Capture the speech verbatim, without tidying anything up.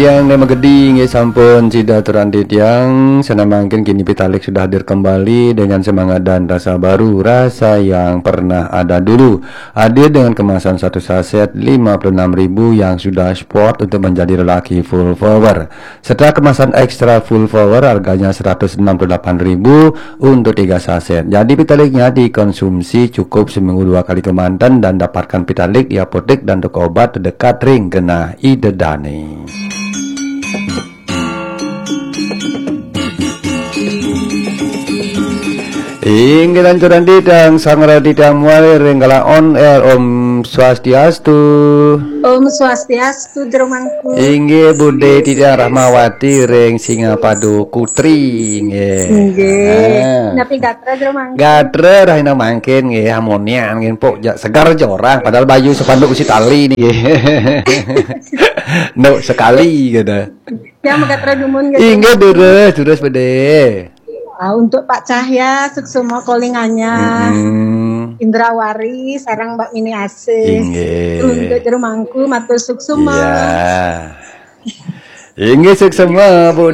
Tiang ne magedi nggih sampun sida terandi tiang, senamangkin kini Pitalik sudah hadir kembali dengan semangat dan rasa baru, rasa yang pernah ada dulu. Hadir dengan kemasan satu saset lima puluh enam ribu yang sudah sport untuk menjadi lelaki full power. Setelah kemasan extra full power harganya seratus enam puluh delapan ribu untuk tiga saset. Jadi Pitaliknya dikonsumsi cukup seminggu dua kali kemanten dan dapatkan Pitalik di apotek dan toko obat terdekat ring genah Ida Dane. Inggih lanturan didang sang radidang muali ring kala on air. Om Swastiastu. Om Swastiastu, Jero Mangku. Inggih Bude Titiang Rahmawati ring Singapadu Kutri, inggih. Inggih. Ah. Napi gatra, Jero Mangku? Gatra rahina mangkin nggih, harmonian nggih, pok ja-, segar jorang padahal bayu sepanduk usi tali niki. Nduk sekali gitu. Yang magatra dumun gitu. Inggih, durus, durus, Bude. Ah, untuk Pak Cahya, suksma kalinganya. Mm-mm. Indrawari, sareng Mbak Mini Asih. Inggih. Untuk Jero Mangku, matur suksma. Iya. Inggih, suksma, Bu.